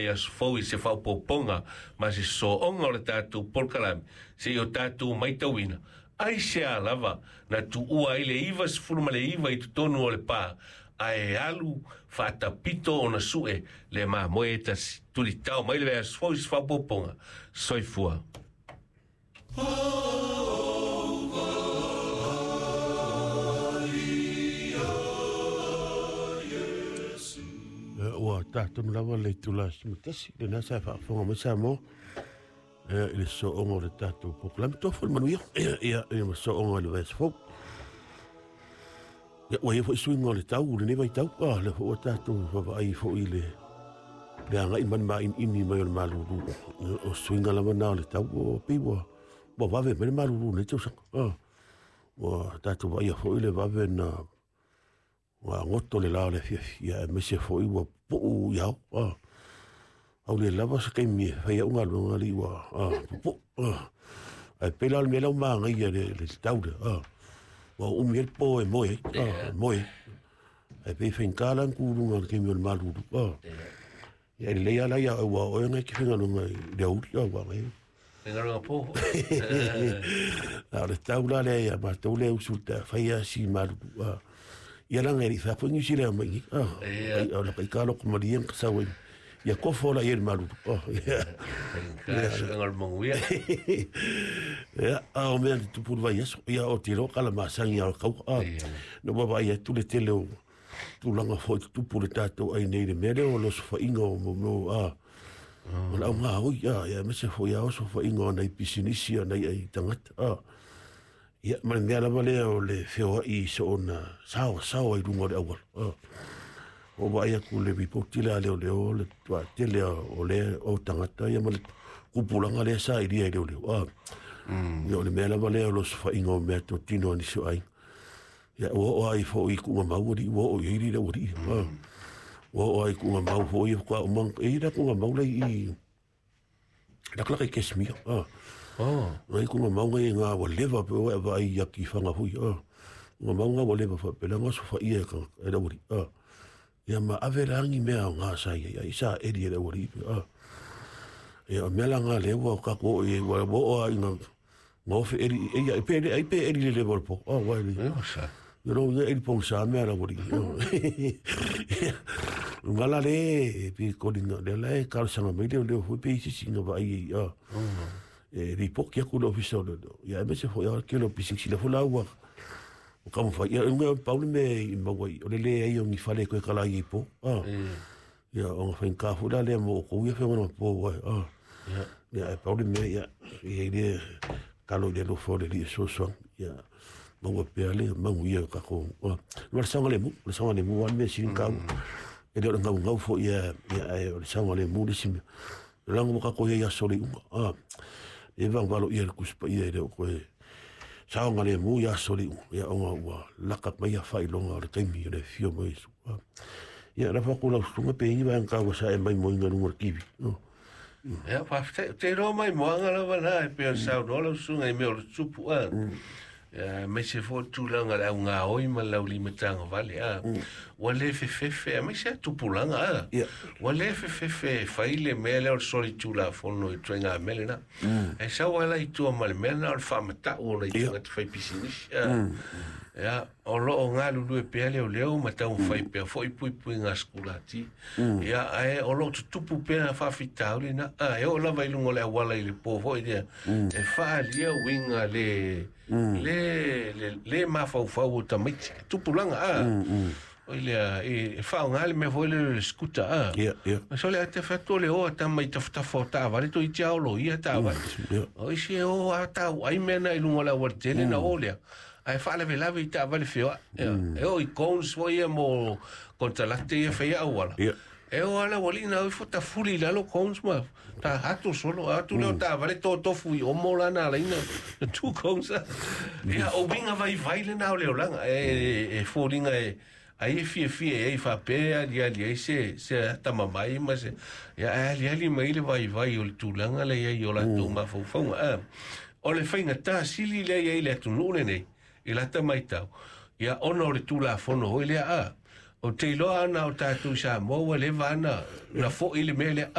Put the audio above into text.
vaiaso fou i se faaopoopoga ma se sooga o le tatou polokalame seia o tatou matauina aisea lava na tuua ai le 99 i totonu o le pa ae alu faatapito ona su'e le mamoe e tasi. Tulitao mai le vaiaso fou i se faaopoopoga. Soifua. Ua tatou lava le itula 11 lena sa faafofoga mai Samoa i le sooga o le tatou polokalame. Tofu le manuia ia ma sooga i le vaiaso fou. Ia, ua i ai foi suiga o le tau lenei vaitau. Lea foi ua tatou vaavaai foi i le agai ma le mainiini mai o le malulu. O suiga lava na o le tau, ua pei ua vave mai le malulu i lenei tausaga. Ua tatou vaaia foi le vave na ua goto le la o le afiafi, ia aemaise foi ua pupuu i ao. Au le lava se taimi e fai au galuega alii ua pupuu. Ae pei la o le mea lea ua magaia le tau lea. Ua umi ai le po e moe ai, moe ai. Ae pei e faigata la ona tu i luga o le taimi o le malulu. Ia e lelei lava la ia au, aua o oe na e te faigaluega i le aoauli, ua magaia. Faigaluega po. A o le tau la lea ia matou lea usu i le fai lava si malulu. Ia laga e le i fai atu foi nisi lea mai i i. O le kaika loko malie na kasau ai. Ia kofo la i ai le malulu. Faigata suega o le manuia. Ia, a o mea na tupu i le vaiaso, ia o te iloa kala masani lava o le kaua. Na ua vaai atu le tele o tulaga foi tutupu le tatou ai nei i le mea lea o le osofaiga o mo o le augaoi, ia aemaise foi a osofaiga o nai pisinisi a nai ai tagata. Ia, ma le mea lava lea o le feoai i soona saoasaoa i luga o le auala. Ua vaai atu le ripoti lea a leoleo le toatele o le o tagata ia ma le kupulaga lea sa ilia i leoleo. Ia o le mea lava lea o le osofaiga o mea totino a nisi o aiga. Ia ua oo ai foi i tuugamau alii, ua oo i ai le aualii. Ua oo ai i tuugamau foi ia faatoa uma e i ai la tuugamau la i lakalaka i Casimir. Nai tuugamau ngai ngā ua leva pe ua e vaai i atifaga foi. Tuugamau ngā ua leva faapela nga osofaia e tagata e le aualii. Ia ma ave la ni mea o ngā sa i ai, ai sa eli e le aualii. Ia o mea la ngā lea ua tatou oo i ai, ua oo lava ina ofe eli, e ia, pe ai pe eli le leva o le po. Ua eli. Ia lo ia eli pongisa mea la aualii. Nga la le e pi kolina lea la e talosaga mai leoleo foi pe i se isi na vaai ai. E ripoti atu le ofisa o leoleo. Ia aemaise foi a tele o pisinisi lea foi la ua taumafai. Ia uga pau le mea i maua ai, o le leai o ni fale e toe tala ai i po. Ia ona faigata foi la lea mo outou ia feoga po ai. Ia ae pau le mea ia i ai le talo i le alofa o le Alii e fesoasoani. Ia maua pea le manuia o tatou. Ma le saogalemu, o le saogalemu lava le mea sili ona taua. E le o le gaugau foi ia, ae o le saogalemu le isi mea. Leaga ua tatou i ai i aso o le iuga. E valuvalo ia le Tusi Paia e le o toe saogalemu i aso o le iuga, ia ona ua laka mai ia faailoga o le taimi o le afio mai o Iesu. Ia lafo atu lau susuga pe i ai ni vaega taua sa e maimoaina i luga o le TV. Ia, faafetai. Ou te iloa maimoaga lava na e pei ona saunoa lau susuga i mea o le tupu. Ia, aemaise foi le tulaga o le augaoi ma le laulimatagavale. Ua le fefefe, aemaise lava tupulaga. Ua le fefefe e fai le mea lea o le solitulafono i ituaiga mea lena. Ae sau lava la i tua ma le mea lena o le faamatau o nai tagata faipisinisi. Ia, o lo o galulue pea leoleo ma taumafai pea foi puipuiga a sikulati. Ia, ae o lo o tutupu pea faafitauli na. E oo lava i luga o le auala i le po foi lea, e faaalia uiga le, le, le, le mafaufau o tamaiti. Tupulaga, Oi lea, e faaaoga le mea foi lea o le scooter, Ia, ia. So le ate fai atu o le o a tama i tafatafa o taavale, toeitiiti lava olo ia taavale. O isi e o a tau ai mea na i luga o le aualatele na o lea. Ae faalavelave i taavale feoai. Ia, e oo i cones foi ia mo konekarate ia e faia auala. E o ala ua lii na ifo tafuli i lalo cones ma ta atu solo atu lea o taavale totofu i omo la na alaina na tu cones. Ia o uiga vaivai lena o le olaga e foliga e ai e fiafia i ai faapea e aliali ai se atamamai ma se ia ae aliali mai le vaivai o le tulaga lea i ai o latou mafaufauga. O le faigata sili lea i ai le atunuu lenei i lata matau ia ona o le tulafono foi lea o te iloa ana o tatou i Samoa ua leva ana na foi le mea lea.